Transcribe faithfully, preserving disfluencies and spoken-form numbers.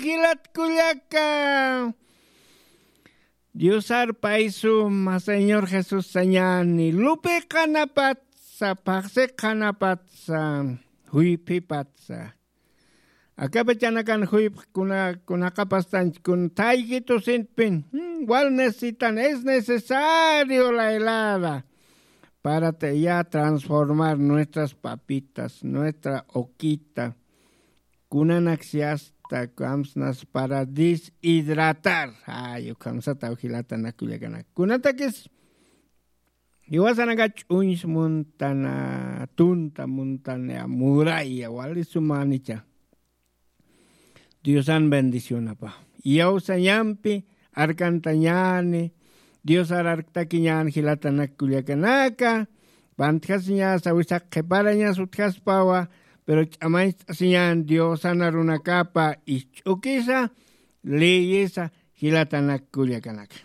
Jilat kullaka, diosar paysuma señor jesús sañani lupi qhanapatsa phaxsi qhanapatsa, juyphipatsa. Akapachanakan juyph kuna kunaqapastanch kun thayki tusintpin, wal necesitan es necesario la helada para ya transformar nuestras papitas, nuestra oquita. Kunanaksi asta kamsnas para deshidratar. Ay ukhamsataw jilatanak kullakanak kunatakis jiwasanaka ch'uñs muntana tunta muntana muraya walisumanicha. Diosan bendicionapa iyawsañampi arkantañani. Diosar arktakiñan jilatanak kullakanaka. Pantjasiñasa wisaq qhiparañas utjaspawa. Pero ch'amañcht'asiñan diosan arunakapa isch'ukisa leyesa jilatanak kullakanaka.